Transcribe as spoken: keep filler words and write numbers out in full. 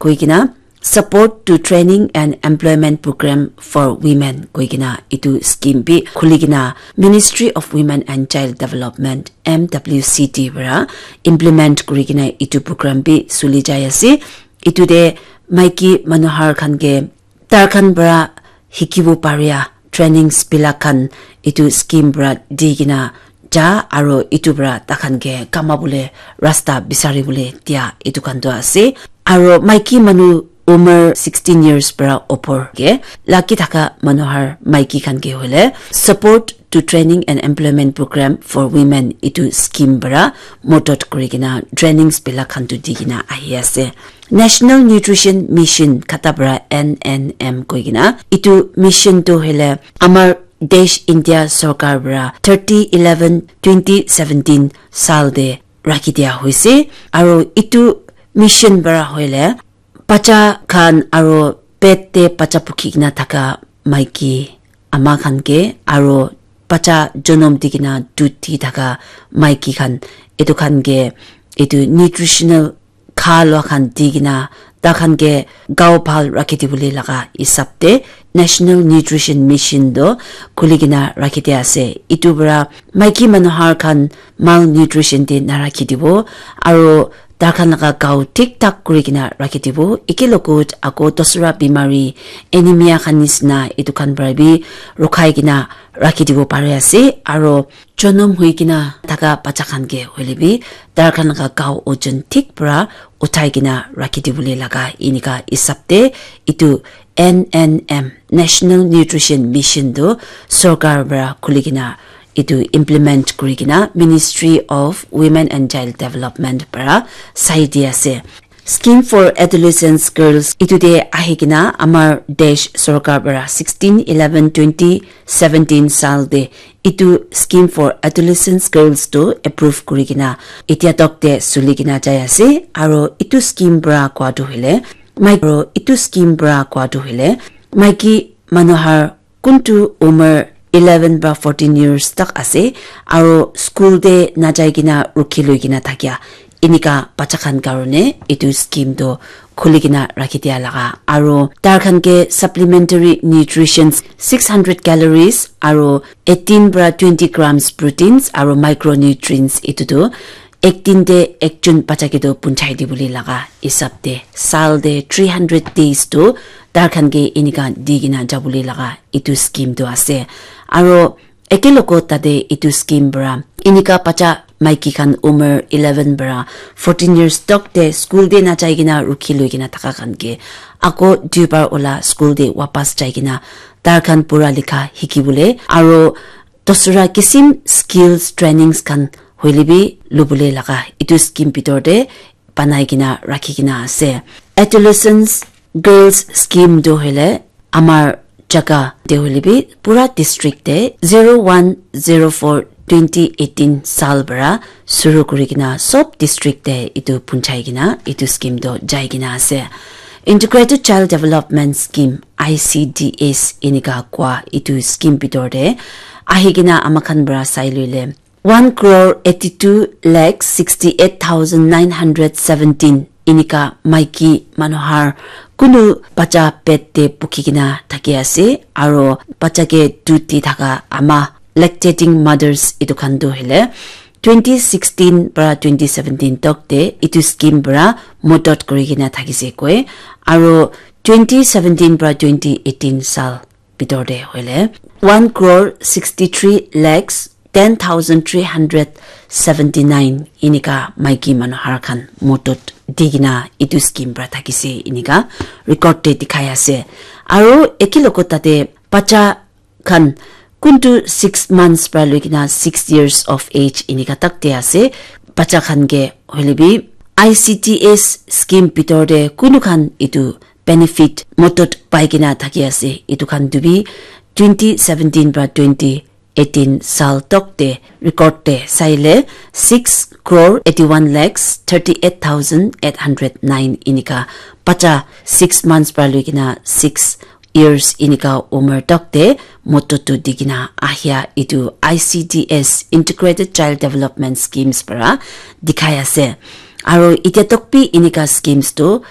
koi kena, Support to Training and Employment Program for Women koi kena etu scheme bi khuli kena Ministry of Women and Child Development, M W C D, para implement kuri kena etu program bi suli jai ase. Etu te maiki manu har khan ke tar khan para hikibo paria trainings bila khan etu scheme para di kena ja, aro etu para takhan ke kama bole rasta bisari bole dia etu khan tu ase. Aro maiki manu umar sixteen years para opor ke laki thaka manu har maiki khan ke hoile Support to Training and Employment Program for Women etu scheme para modot kuri kena trainings bila khan tu di kena ahi ase. National Nutrition Mission khata para N N M koi kena etu mission tu hoile amar desh India sorkar para thirty eleven twenty seventeen sal te rakhi dia hoise. Aro etu mission para hoile bacha khan aro pet te bacha pukhi kena thaka maiki ama khan ke aro bacha jonom di kena dut di thaka maiki khan etu khan ke etu nutritional kha lua khan di kena ta khan ke gao bhal rakhi dibole laga hisab te National Nutrition Mission do khuli kena rakhi dia ase. Etu para maiki manu har khan malnutrition te narakhi dibo aro ta khan laga gao thik thak kuri kena rakhi dibo. Eke logot ako dosra bimari, anemia khan nisna etu khan para bi rukhai kena rakhi dibo pari ase. Aro jonom hui kena thaka bacha khan ke hoile bi tar khan laga gao ojon thik para uthai kena rakhi dibole laga enika hisab te etu N N M, National Nutrition Mission tu sorkar para khuli kena etu implement kuri kena Ministry of Women and Child Development para sai di ase. Scheme for Adolescents Girls etu te ahi kena amar desh sorkar para sixteen eleven twenty seventeen sal te etu Scheme for Adolescents Girls tu approve kuri kena etia tok te suli kena jai ase. Aro etu scheme para koa tu hoile maiki, aro etu scheme para koa tu hoile maiki manu har kuntu umar eleven para fourteen years tak ase aro school te najai kena rukhi loi kena thakia enika bacha khan karone etu scheme tu khuli kena rakhi dia laga aro tar khan ke supplementary nutritions six hundred calories aro eighteen para twenty grams proteins aro micronutrients etu tu ek din te ekjon bacha ke tu punchai dibole laga hisab te sal te three hundred days tu tar khan ke enika di kena jabole laga etu scheme tu ase. Aro eke logot tate etu scheme para enika bacha maiki khan umar eleven para fourteen years tok te school te najai kena rukhi loi kena thaka khan ke ako duibar ola school te wapas jai kena tar khan pura likha hikibole aro dosra kisim skills trainings khan hoile bi lubole laga etu scheme bitor te banai kena rakhi kena ase. Adolescents Girls Scheme tu hoile amar jaga te hoile bi pura district te zero one zero four twenty eighteen sal para suru kuri kena sob district te etu punchai kena etu scheme tu jai kena ase. Integrated Child Development Scheme, I C D S enika koa etu scheme bitor te ahi kena ama khan para sai loile one crore eighty two lakh sixty eight thousand nine hundred seventeen enika maiki manu har kunu bacha pet te pukhi kena thaki ase aro bacha ke dut di thaka ama lactating mothers etu khan tu hoile twenty sixteen para twenty seventeen tok te etu scheme para modot kuri kena thakise koi aro twenty seventeen para twenty eighteen sal bitor te hoile one crore sixty three lakhs ten thousand three hundred seventy nine enika maiki manu har khan modot di kena etu scheme para thakise enika record te dikhai ase. Aro eke logot tate bacha khan kuntu six months para loi kena six years of age enika tak te ase. Bacha khan ke hoile bi I C D S scheme bitor te kunu khan etu benefit modot pai kena thaki ase. Etu khan tu bi twenty seventeen para twenty eighteen sal tok te record te saile six crore eighty one lakhs thirty eight thousand eight hundred nine enika bacha six months para loi kena six years enika umar tok te modot tu di kena ahia etu I C D S, Integrated Child Development Schemes, para dikhai ase. Aro etia tok bi enika schemes tu